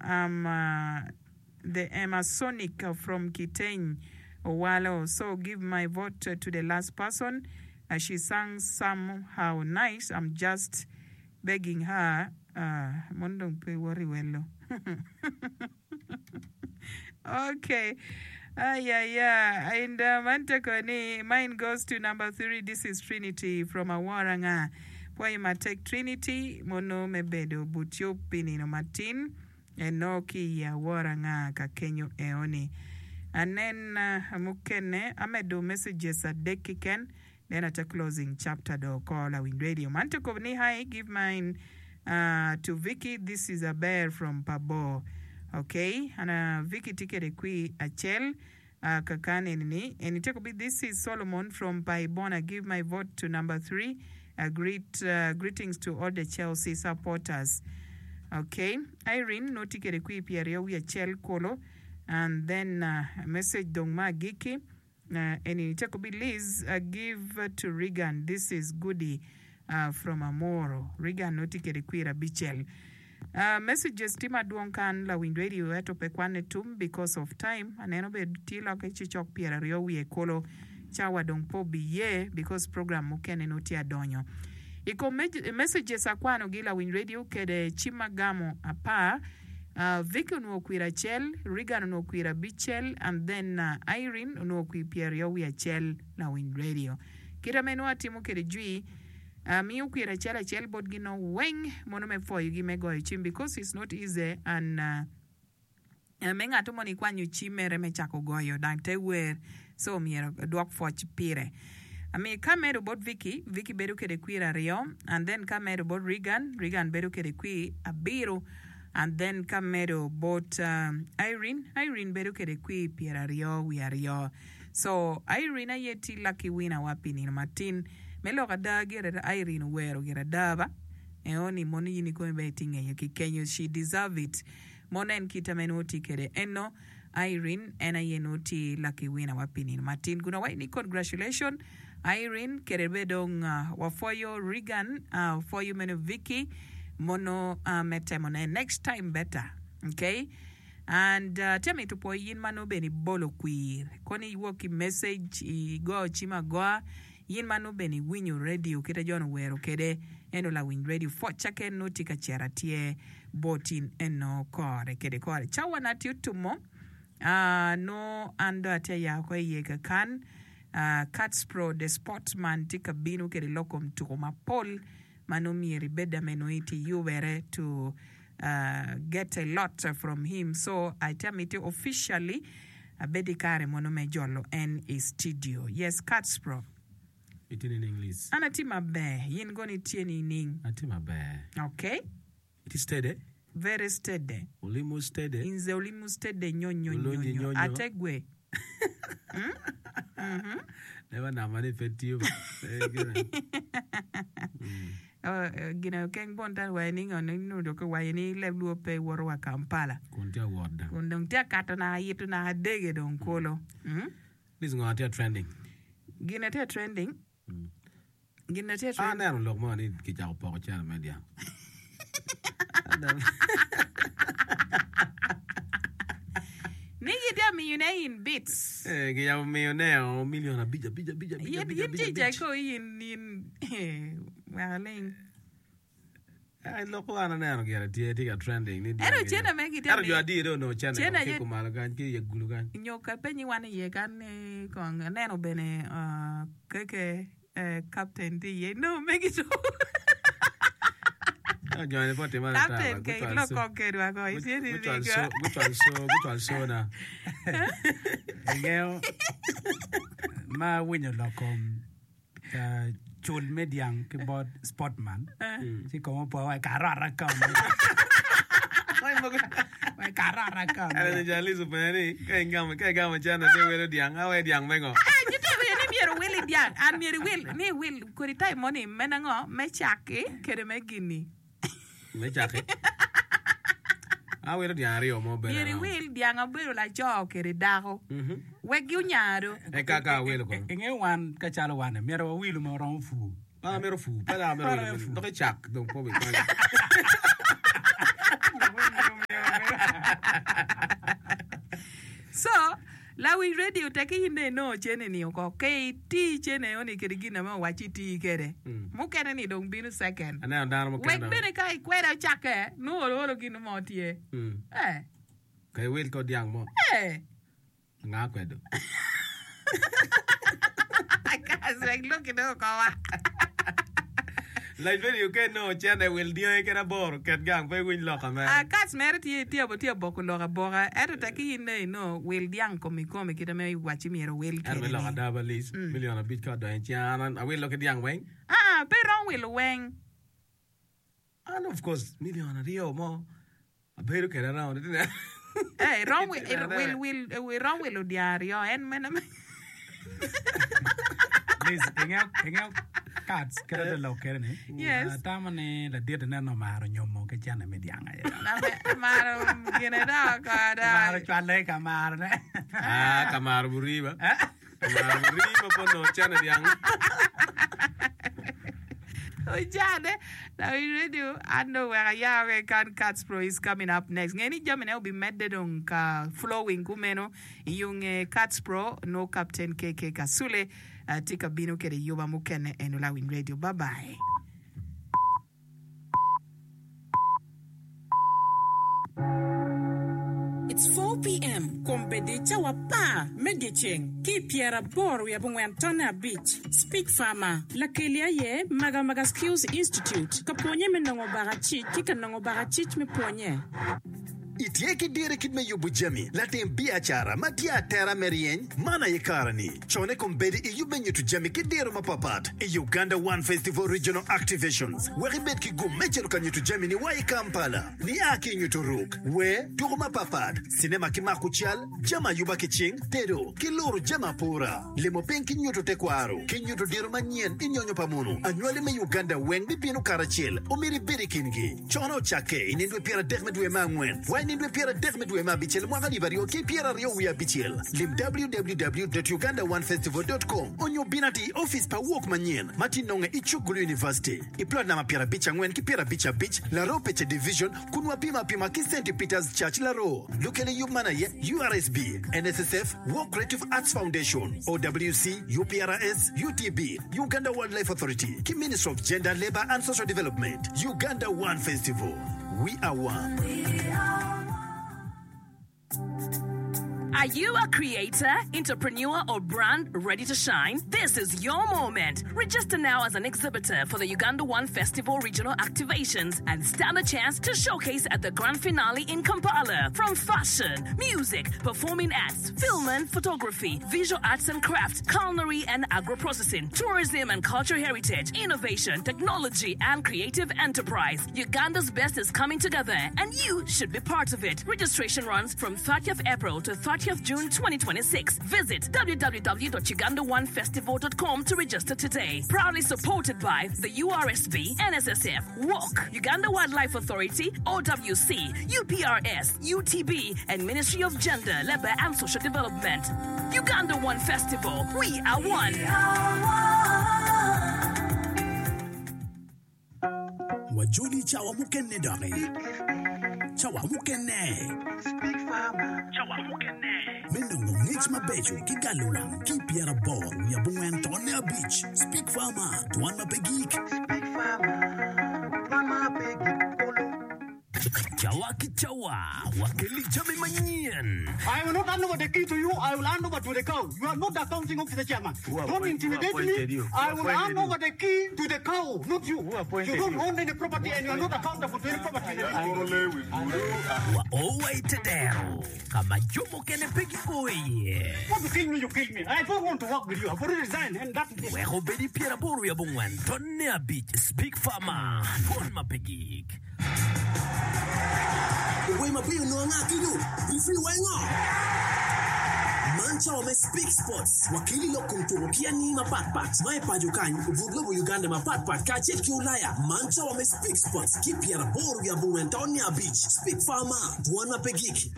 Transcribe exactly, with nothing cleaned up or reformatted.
I'm uh, the Emasonic from Kiteny Owalo so give my vote to the last person uh, she sang somehow nice I'm just begging her uh, mon dong pe woti wello okay Ay, ay, ay. And uh, man teko ni mine goes to number three. This is Trinity from Awaranga. Pwoyo matek Trinity mono me bedo but yub pi nino matin eno ki i Awaranga ka kenyo eoni. Anen uh, mukene amedo messages adek keken then at a closing chapter do call lawiny radio. Man teko ni hi give mine uh, to Vicky. This is a bear from Pabo. Okay, and uh, Vicky tye kede kwi acel uh, kakan eni and it be this is Solomon from Paibona. Give my vote to number three. Uh, greet, uh, greetings to all the Chelsea supporters. Okay, Irene no tye kede kwi pyeraryo wiye acel kolo and then uh, message dong ma agikki uh, eni teko bi Liz uh, give to Regan. This is Goody uh, from Amoro. Regan no tye kede kwir abicel. Uh, messages tye madwong kan lawiny radio ento pe kwane tum because of time aneno bed tye loke cicok pyeraryo wiye kolo cawa dong po biye because program mukene no tye adonyo i kom messages akwanogi lawiny radio kede cim agamo apar uh, Vicky onwongo kwir acel Regan onwongo kwir abicel and then uh, Irene onwongo kwir pyeraryo wiye acel lawiny radio kita meno atimo kede jwi uh, miyo kwir acel acel botgi no weng mono me pwoyogi me goyo cim because it's not easy and uh, me ng'ato moni ikwanyo cim mere me cako goyo dang te wer so myero dwok pwoc pire ami ka medo bot Vicky Vicky bedo kede kwir aryo and then ka medo bot Regan Regan bedo kede kwir abiro and then ka medo bot um, Irene Irene bedo kede kwir pyeraryo wiye aryo so Irene aye tye lucky winner wa pi nino matin me lok ada gire Irene owero gire ada ba eoni mono in ikomi be itye ng'eyo ki kenyo she deserve it mono en kite ma en tye kede eno Irene en aye nongo tye lucky winner wa pi nino matin kun awaco ni congratulation Irene kede be dong uh, wapwoyo Regan uh, wapwoyo meno Vicky mono uh, me temone next time better okay and uh, tye mito pwoyo yin ma nongo bene ibolo kwir koni iwok ki message igo cim agoa yin ma nongo bene iwinyo radio kite jo owero kede eno lawiny radio pwoc ken nongo tye ka cito atye bot in eno kore kede kore cawa na tye otumo uh, no an do atye ya oko iye kakan uh, Cats Pro the sportsman tye ka bino kede lok kom tuko mapol ma nongo myero ibed ame nongo itye yubere to uh, get a lot from him so atye miti officially abed i kare mono me jolo en i studio yes Cats Pro Itye nining Liz? an atye maber yin kono itye nining Atye maber. okay Itye steady? very steady Olimu steady? nze olimu steady nyo nyo nyo Olonyi nyo nyo nyo. ate gwe Never namba ni pe tiyo ba. Eh, gina. Uh, gina keng bon tan waye ni ngono nudo ko waye ni leb luo pe woto wa Kampala Kun tye awot da. kun dong tye akato na ayito na adege dong kolo mm? Liz ngo tye trending? gina tye trending gina tye trending Aneno lok mo ni kicako poko cene me dyang. Aneno. ni gitye miyone in bits Eh, kiyabo miyo ne o million abic abic abic abic yin abic yin abic cica abic. ko yin yin wek aling Ai lok ko an aneno gire tye tye ka trending ni dyang. ento cene me gitye Ento jo adi do onongo cene Cene ko ki aye- kumalo kany ki i gulu kany. nyo ka penyi wan iye kan ni kong aneno bene uh, keke uh, captain tye iye no megi to Ento joni po timo captain ke ilok kong kedwa ko itye ni Gucwal nigo so gucwal so gucwal so na. Ingeyo ma awinyo lok kom uh, cul me dyang ki bot Sportman ci kom opo wa karota ka wa karota ka Ento ja Liz openyo ni ka ingamo ka igamo cene te welo dyang awe dyang me ngo? Ah, nyito ni myero wil i dyang an myero iwil ni iwil kodi time moni me nango me caki kede me gini Me caki. Awilo dyang aryo mo bedo myero around. iwil dyang abedo laco kede dako Mhm. wek gi onyado Eka ka awilo kono. Ingeyo wan ka calo wan myero wawilu ma oromo pur Pa amito pur, pe dok amito wilo. Dok icak dong po bikonyo. So, lawiny radio tekki in dong inongo cene-ni oko, ka iti cene eni kede gin ame owacci iti kede, mukene ni dong bino second. Aneno dano mukene Wek dong. bene ka ikweda ocakke, nongo olo olo gin mo tye. Mm. Eh, Ka iwil kor dyang mo, eh. anga kwedo? Kas wek lok inongo kowa. Lac radio ka inongo cene wil dyangi kede aboro ket gang pe iwiny lok amere. Ah, kas mere tye tye tye aboko lok aboka ento tekki in dong inongo wil dyang komi komi kite me iwacci myero wil Ento me lok kede ni. ada ba Liz, milion abic ka odonyo i cinga an awilo ki dyang weng. Ah, pe iromo wilo weng. An of course milion aryo mo abedo kede around iti neno. Eh, irom wi- ir- wil wil irom wilo dyang aryo en mene me Liz, ingeyo ingeyo cards kite te lok kede ni. Yes. Atamo ni ladit ineno omaro nyomo ki cene me dyang aye. Ame- amaro gine dok Omaro koda. cwale ka marone. Ah, ka maro buriba. Ka maro buriba po nongo cene dyang. Ojane, lawiny radio, an dong wek ayaw keken Cats Pro is coming up next. Nge ni jamine obimedde dong ka flowing kumeno iyunge Cats Pro no Captain K K Kasule uh, tye ka bino kede yuba mukene eno lawiny radio. Bye bye. It's four p m. Kombeddi cawa apar me dyeceng ki pyeraboro wiye abongwen tonne abic. Speak Farmer. Lakeli aye Maga Maga Skills Institute. Ka pwonye me nongo bakacic ki ka nongo bakacic me pwonye. Itye ki dire kit me yubo jami latim biacara ma tye atera me ryeny man aye kare-ni cone kombeddi iyub me nyuto jami ki diro mapapat i Uganda One Festival Regional Activations wek ibed ki gum me cito ka nyuto jami ni wa i Kampala nia ki nyuto ruk wer tuko mapapat sinema ki mako cal jami ayuba ki cing tedo ki luro jami apura limo piny ki nyuto tekwaro ki nyuto diro manyen i nyonyo pa munu anywali me Uganda weng bibino karacel omyero ibed i kingi cono ocakke i nino dwe pyeradek me dwe me angwen wa i nino dwe pyeradek me dwe me abicel mwaka alip aryo ki pyeraryo wiye abicel lim W W W dot ugandaonefestival dot com onyo bin ati i office pa wok manyen ma tye nonge i Chukgulu University i plot namba pyerabic angwen ki pyerabic abic Laro Pece Division kun wapimo apima ki Saint Peters Church Laro lukele yub man aye U R S B N S S F Work Creative Arts Foundation O W C U P R S U T B Uganda Wildlife Authority ki Ministry of Gender, Labor and Social Development. Uganda One Festival, we are one. Are you a creator, entrepreneur, or brand ready to shine? This is your moment. Register now as an exhibitor for the Uganda One Festival regional activations and stand a chance to showcase at the grand finale in Kampala. From fashion, music, performing arts, film and photography, visual arts and crafts, culinary and agro-processing, tourism and cultural heritage, innovation, technology, and creative enterprise. Uganda's best is coming together, and you should be part of it. Registration runs from thirtieth April to thirtieth June twenty twenty-six. Visit w w w dot uganda one festival dot com to register today. Proudly supported by the U R S B, N S S F, WALK, Uganda Wildlife Authority, O W C, U P R S, U T B, and Ministry of Gender, Labor and Social Development. Uganda One Festival. We are one. Wajoli cawa mukene doki. Cawa mukene. Me nongo ngec mabeco ki galo wang ki pyeraboro wiye abongwen tonne abic. Speak Farmer, dwan ma pe gik. Cawa ki cawa, wakeli jami manyen. I will not hand over the key to you. I will hand over to the cow. You are not the accounting officer chairman. Don't intimidate me. I will hand over the key to the cow, not you. You don't own any property and you are not accountable to any property. Wa owai tedero. Kama jo mukene pe gio iye. Want to kill me, you kill me. I don't want to work with you. I've already resigned and that is it. Wek obedi pyeraboro wiye abongwen tonne abic. Speak Farmer, dwan ma pe gik. Wer mabeco onongo anga kenyo? Referee wengo? Man cawa me Speak Sports wakeli lok kom tuko ki anyi mapatpat ma i paco kany obut lobo Uganda mapatpat kacel ki Ulaya. Man cawa me Speak Sports ki pyeraboro wiye abongwen tonne abic. Speak Farmer, dwan ma pe gik.